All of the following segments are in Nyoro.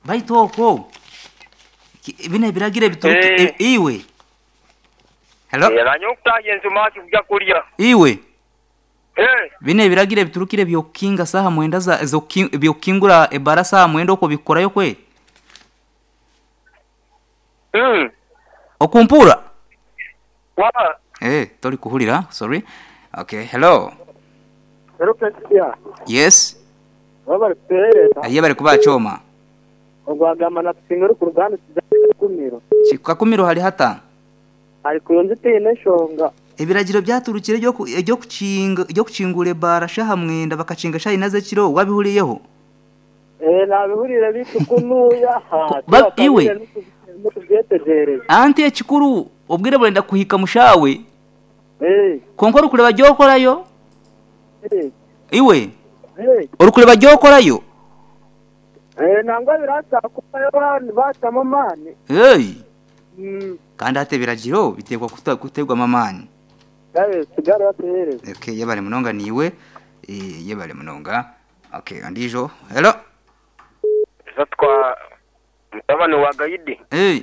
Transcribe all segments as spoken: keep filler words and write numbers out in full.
Baitu okwo ki- bino ebiragiro ebituruki Eh. e- iwe hello. Nanye okutaaya ensumaki kujja kulya. Iwe. Eh, bino ebiragiro ebiturukire byokukinga saha mwenda za zoki- byokukingura ebara saha mwenda okwo bikukorayo kwe? mm, Okumpura. wa Eh, tori kuhulira, sorry. Okay, hello. Hello, President. Yes. Baba kutereta. Aye bari kubachoma. Ogwagamba natusinga ku ruganda kumiro. Kikakumiro hari hata. Ari kuyonza tine nshonga. Ebiragiro byaturukire byo ku- byo kukinga byo kukingura ebara shaha mwenda bakakinga shayi naze kiro wabihuriyeho. Eh, nabihurira bitukunuya ha. Ba- iwe. Mutubyetegereze. Anti ekikuru obwire burenda kuhika mushawe. Eh, Konka orukureba gyokorayo eh, iwe eh. orukureba gyokorayo. Eh, nangwa birasa kubayo bani batamo mani. Hey, Mm. kandi hata ebiragiro bitekwa kuta- kutegwamo amaani. Gabe sigara batereze. Okay, yebale munonga niwe. Eh, yebale munonga. Okay, andijo. Hello. Zatwa mutabani wa Gaidi. Hey,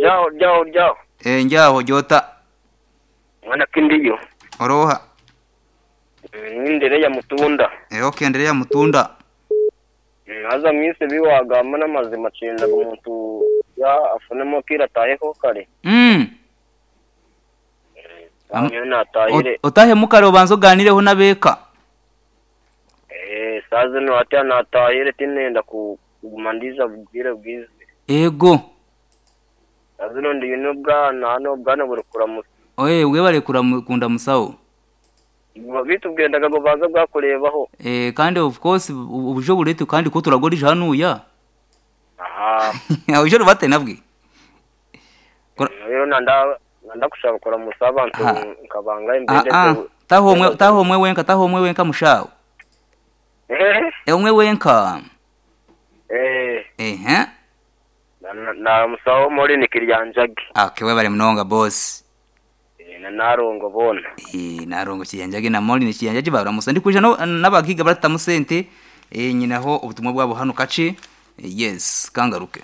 Jaho jaho jaho. eh njaho jota Mwana kindiyo. oroha. Nindere ya mutunda. Eh, okay, endelea mutunda. Haza mwise biwagamba n'amazima cyenda umuntu ya afunemo kira tayeho kare. Mm. Am- Nyo natahire. Ot- Otahe mukare obanza oganireho n'abeeka. Eh, saze no ate natahire tinenda ku kuguma ndiza bwire bwize. Ego. Saze no ndi no bwana hano bwana buri kuramusa. Oye, webale kuramukunda musawo. Bitubwendaga ngo baza bwakurebaho. Eh, kandi of course ubu- ubujo burete kandi ko turagorije hanuya. Aha. Ubujo rubate nabwe. Kora- Rero nanda nanda kushaka kuramusa abantu Aha. nkabanga Ah imbere. ah, taho omwe taho omwe wenka taho omwe wenka mushawo. Eh. Eh, omwe wenka. Eh. Eh, Na na musawo muri nikiryanjage. okay, webale munonga boss. Eh, na narongo bona. Eh, narongo kiyanjage na moli ni kiyanjage baramusa ndikuja no n'abagiga baratamu sente eh nyinaho ubutumwa bwabo hano kace. Eh, yes kangaruke.